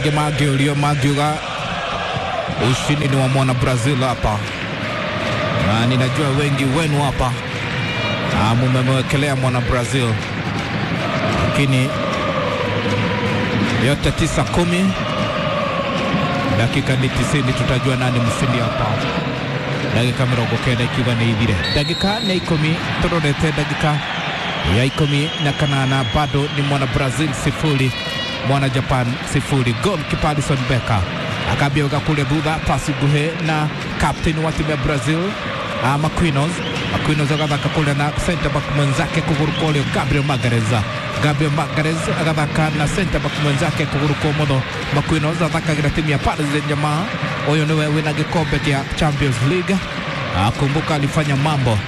Aingĩ mangĩũrio mangiuga ushindi ni wa mwana Brazil hapa, na ninajua wengi wenu hapa mumemwekelea mwana Brazil, lakini yote 9-10, dakika ni 90, tutajua nani mshindi hapa. Ndagika 90 ikiuga nĩ ithire, ndagika nĩ 10, tũrorete ndagika ya 18, bado ni mwana Brazil 0 mwana Japan 0. Goalkeeper Alisson Becker akambia wega kule thutha, pasi nguhĩ na captain wa timu ya Brazil Marquinhos. Marquinhos agathaka kule na center back mwenzake kuguru kwa ũrĩo Gabriel Magalhaes. Gabriel Magalhaes agathaka na center back mwenzake kuguru kwa ũmotho. Marquinhos athakagĩra timu ya Paris Saint-Germain. Ũyũ nĩwe wĩna gĩkombe kĩa Champions League. Kumbuka alifanya mambo,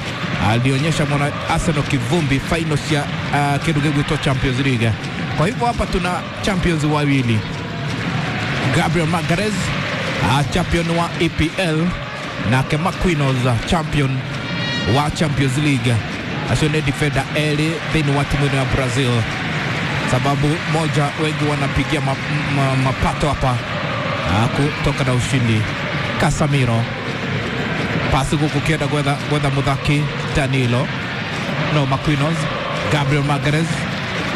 alionyesha mwana Arsenal kivumbi final cia kĩndũ gĩgwĩtwo Champions League. Kwa hivyo hapa tuna champions wawili, Gabriel Magalhaes champion wa EPL nake Marquinhos champion wa Champions League. Acio nĩ defender erĩ thĩinĩ wa timu ĩno ya Brazil. Sababu moja wengi wanapigia mapato hapa kutoka na ushindi. Casemiro pasi gũkũ kĩenda gwetha mũthaki Danilo, no Marquinhos. Gabriel Magalhaes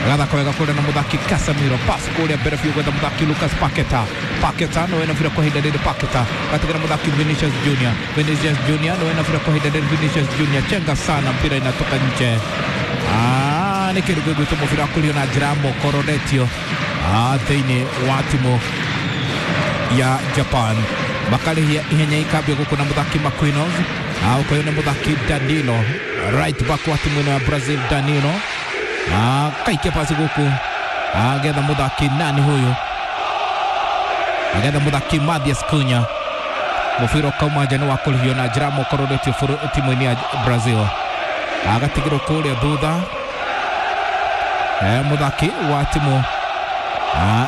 agathaka wega kũrĩa na mũthaki Casemiro, pasi kũrĩa mbere biũ gwetha mũthaki Lucas Paqueta. Paqueta no wena bira kwa ihinda rĩrĩ, Paqueta gatigĩra mũthaki Vinicius Junior. Vinicius Junior no wena bira kwa ihinda rĩrĩ, Vinicius Junior chenga sana, mpira inatoka nje. Nĩ kĩndũ gĩgwĩtwo mũbira wa kũrio na njĩra ya moko ũroretio thĩinĩ wa timu ya Japan. Makarĩhia ihenya ikambio gũkũ na mũthaki Marquinhos, ũkoywo nĩ mũthaki Danilo, right back wa timu ĩno ya Brazil Danilo akaikia pasi gũkũ agetha mũthaki nani huyu, agetha mũthaki Mathias Cunha. Mũbira ũkauma nja nĩ wa kũrĩhio na njĩra ya moko ũroretio timu-inĩ ya Brazil. Agatigĩrwo kũrĩa thutha mũthaki wa timu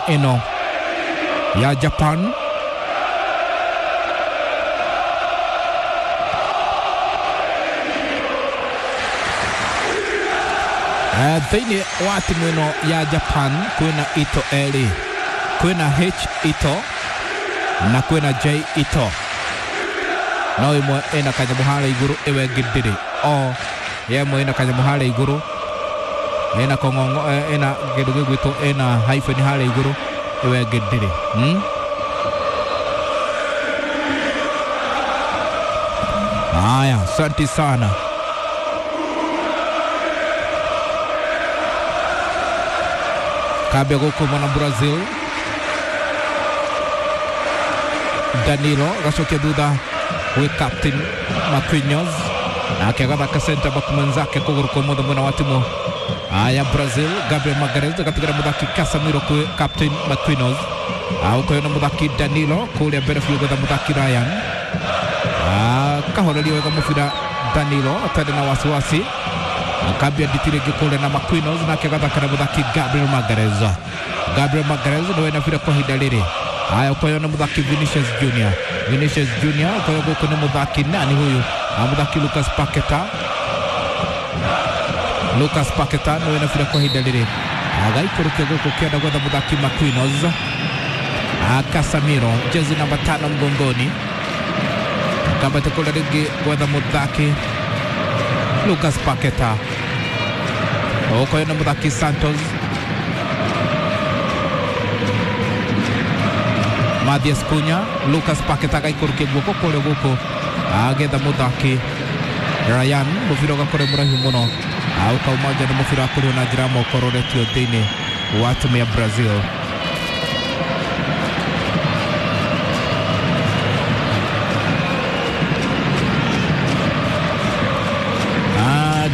ĩno ya Japan. Thĩinĩ wa timu ĩno ya Japan kwĩna Ito erĩ, kwĩna H Ito na kwĩna J Ito, no ĩmwe ĩna kanyamũ harĩa igũrũ ĩwe ĩngĩ ndĩrĩ. O ĩmwe ĩna kanyamũ harĩa igũrũ, ĩna kong'ong'o, ĩna kĩndũ gĩgwĩtwo ĩna hyphen harĩa igũrũ, ĩwe ĩngĩ ndĩrĩ. Haya, asante sana. Kambia gũkũ mwana Brazil Danilo agacokia thutha gwĩ captain Marquinhos, nake agathaka center back mwenzake kũgũrũ kwa ũmotho mwena wa timu ya Brazil. Gabriel Magalhaes agatigĩra mũthaki Casemiro kwĩ captain Marquinhos, ũkoywo na mũthaki Danilo kũrĩa mbere biũ gwetha mũthaki Ryan. Kahoreria wega mũbira Danilo atarĩ na wasiwasi, akambia nditi rĩngĩ kũrĩa na Marquinhos, nake agathaka na mũthaki Gabriel Magalhaes. Gabriel Magalhaes nĩwe na bira kwa ihinda rĩrĩ. Haya, ũkoywo na mũthaki Vinicius Junior. Vinicius Junior ũkoywo gũkũ nĩ mũthaki nani huyu, mũthaki Lucas Paqueta. Lucas Paqueta nĩwe na bira kwa ihinda rĩrĩ, agaikũrũkia gũkũ kĩenda gwetha mũthaki Marquinhos. Casemiro jezi namba 5 mgongoni, akambata kũrĩa rĩngĩ gwetha mũthaki Lucas Paqueta, ũkoywo na mũthaki Santos. Mathias Cunha, Lucas Paqueta agaikũrũkia guoko kũrĩa gũkũ agetha mũthaki Ryan, mũbira ũgakorwo mũraihu mũno, ũkauma nja nĩ mũbira wa kũrĩo na njĩra ya moko ũroretio thĩinĩ wa timu ya Brazil.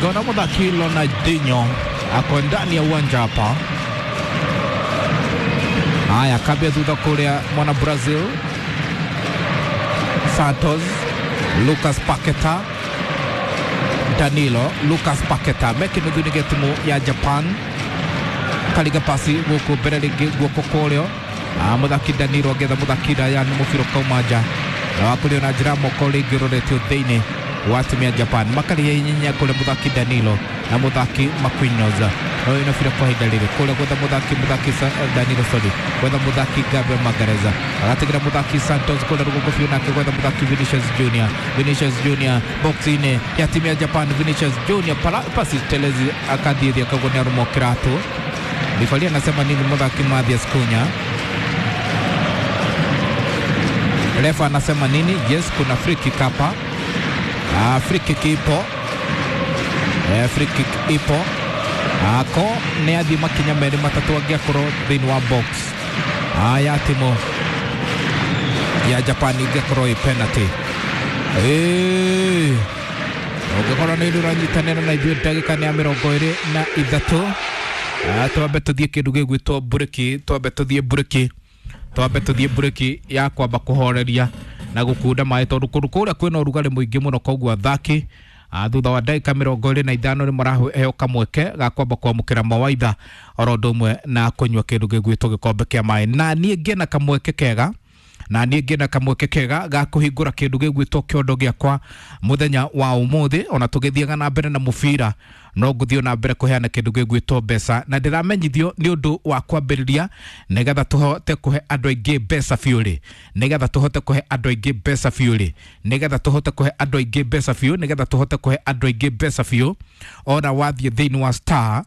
Gona mũthaki Ronaldinho ako ndani ya uwanja hapa. Haya, kambia thutha kũrĩa mwana Brazil Santos, Lucas Paqueta, Danilo, Lucas Paqueta mekinuthu-inĩ gĩa timu ya Japan. Kariga pasi gũkũ mbere rĩngĩ guoko kũrĩo, mũthaki Danilo agetha mũthaki Ryan, mũbira ũkauma nja na wakũrĩo na njĩra ya moko rĩngĩ ũroretio thĩinĩ wa timu ya Japan. Makarĩhia inyanya kũrĩ mũthaki Danilo. na muthaki Marquinhos no ina bira kwa ihinda rĩrĩ kũrĩa gwetha muthaki Danilo sorry gwetha muthaki Gabriel Magalhaes agatigĩra muthaki Santos kũrĩa rũgongo biũ nake gwetha muthaki Vinicius Junior. Vinicius Junior box-inĩ ya timu ya Japan. Vinicius Junior pasi telezi akathiĩ thĩ akagwo nĩ arũmwo kĩratũ. Rifari anasema nini muthaki Mathias Cunha? Refa anasema nini? Yes, kuna free kick hapa. Free kick ipo. Free kick ipo. Ko nĩ athiĩ makinya merĩ matatũ angĩakorwo thĩinĩ wa box ya timu ya Japan ingĩkorwo ĩ penalty. Ũngĩkorwo nĩ ũranyitanĩra na ithuĩ ndagĩka nĩ ya 23. Twambe tũthiĩ kĩndũ gĩgwĩtwo mburĩki, twambe tũthiĩ mburĩki, twambe tũthiĩ mburĩki ya kwamba kũhoreria na gũkunda maĩ tondũ kũndũ kũrĩa kwĩna ũrugarĩ mũingĩ mũno, koguo athaki thutha wa ndagĩka 25 nĩ maraheo kamweke ga kwamba kwamũkĩra mawaitha oro ũndũ ũmwe na kũnyua kĩndũ gĩgwĩtwo gĩkombe kĩa maĩ. Na niĩ ngĩna kamweke kega, na niĩ ngĩna kamweke kega ga kũhingũra kĩndũ gĩgwĩtwo kĩondo gĩakwa mũthenya wa ũmũthĩ. Ona tũgĩthiaga na mbere na mũbira no ngũthiĩ na mbere kũheana kĩndũ gĩgwĩtwo mbeca, na ndĩramenyithio nĩ ũndũ wa kwambĩrĩria nĩgetha tũhote kũhe andũ aingĩ mbeca biũ rĩ, nĩgetha tũhote kũhe andũ aingĩ mbeca biũ rĩ, nĩgetha tũhote kũhe andũ aingĩ mbeca biũ, nĩgetha tũhote kũhe andũ aingĩ mbeca biũ. Ona wathiĩ thĩinĩ wa star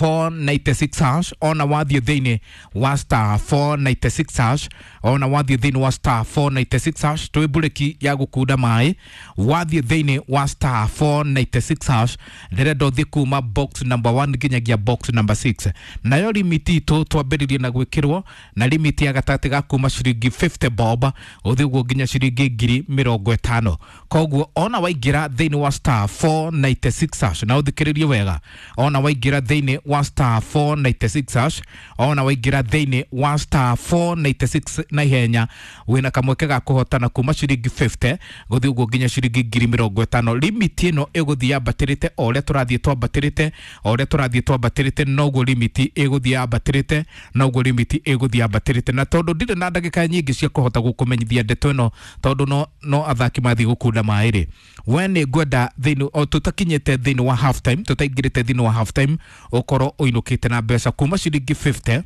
496 hash, ona wathiĩ thĩinĩ wa star 496 hash, ona wathiĩ thĩinĩ wa star 496 hash, twĩ mburĩki ya gũkunda maĩ. Wathiĩ thĩinĩ wa star 496 hash, ndĩrenda ũthiĩ kuma box number 1 nginyagia box number 6. Nayo limiti itũ twambĩrĩrie na gwĩkĩrwo na limiti ya gatagatĩ ga kuma ciringi 50 bob ũthiĩ ũguo nginya ciringi 50,000. Koguo ona waingĩra thĩinĩ wa star 496 hash, na ũthikĩrĩrie wega, ona waingĩra thĩinĩ wa star 496 hash, ona waingĩra thĩinĩ wa star 496 na ihenya wĩna kamweke ga kũhotana kuma ciringi 50 gũthiĩ ũguo nginya ciringi 50,000. Limiti ĩno ĩgũthiĩ yambatĩrĩte o ũrĩa tũrathiĩ twambatĩrĩte, o ũrĩa tũrathiĩ twambatĩrĩte noguo limiti ĩgũthiĩ yambatĩrĩte, noguo limiti ĩgũthiĩ yambatĩrĩte. Na tondũ ndirĩ na ndagĩka nyingĩ cia kũhota gũkũmenyithia ndeto ĩno tondũ no athaki mathiĩ gũkunda maĩ rĩ, we nĩ ngwenda thĩinĩ o tũtakinyĩte thĩinĩ wa half time, tũtaingĩrĩte thĩinĩ wa half time ũkorwo ũinũkĩte na mbeca kuma ciringi 50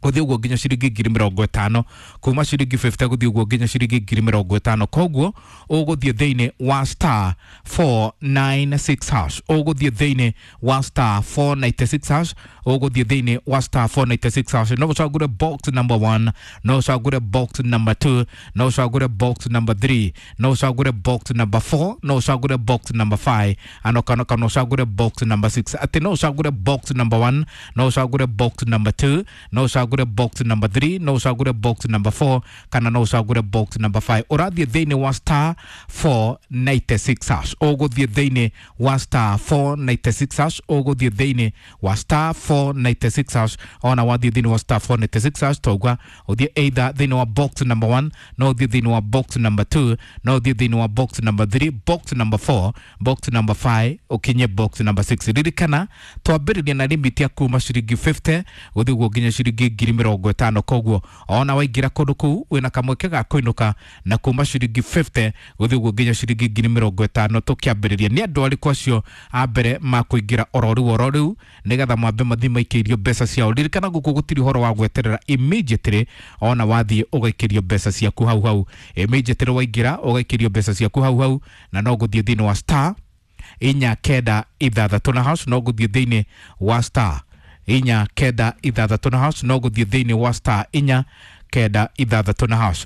gũthiĩ ũguo nginya ciringi 50,000, kuma ciringi 50 gũthiĩ ũguo nginya ciringi 50,000. Koguo ũgũthiĩ thĩinĩ wa star 496 hash, ũgũthiĩ thĩinĩ wa star 496 hash, ũgũthiĩ thĩinĩ wa star 496 hash. No ũcagũre box number 1, no ũcagũre box number 2, no ũcagũre box number 3, no ũcagũre box number 4, no ũcagũre box number 5, ano kana kana ũcagũre box number 6. Atĩ no ũcagũre box number 1, no ũcagũre box number 2, no ũcagũre box number 3, no ũcagũre box number 4, kana no ũcagũre box number 5. Ũrathiĩ thĩinĩ wa star 496 hash, ũgũthiĩ thĩinĩ wa star 496 hash, ũgũthiĩ thĩinĩ wa star 496 hash. Ona wathiĩ thĩinĩ wa star 496 hash tauga ũthiĩ either thĩinĩ wa box number 1, no ũthiĩ thĩinĩ wa box number 2, no ũthiĩ thĩinĩ wa box number 3, box number 4, box number 5, ũkinye box number 6. Ririkana twambĩrĩria na limit ya kuma ciringi 50 gũthiĩ ũguo nginya ciringi 50,000. Koguo ona waingĩra kũndũ kũu wĩna kamweke ga kũinũka na kuma ciringi 50 gũthiĩ ũguo nginya ciringi 50,000. Tũkĩambĩrĩria nĩ andũ arĩkũ acio a mbere makũingĩra oro rĩu oro rĩu nĩgetha mambe mathiĩ maikĩirio mbeca ciao. Ririkana gũkũ gũtirĩ ũhoro wa gweterera, immediately ona wathiĩ ũgaikĩrio mbeca ciaku hau hau, immediately waingĩra ũgaikĩrio mbeca ciaku hau hau, na no gũthiĩ thĩinĩ wa star 496 na hash, no gũthiĩ thĩinĩ wa star 496 na hash, no gũthiĩ thĩinĩ wa star 496 na hash.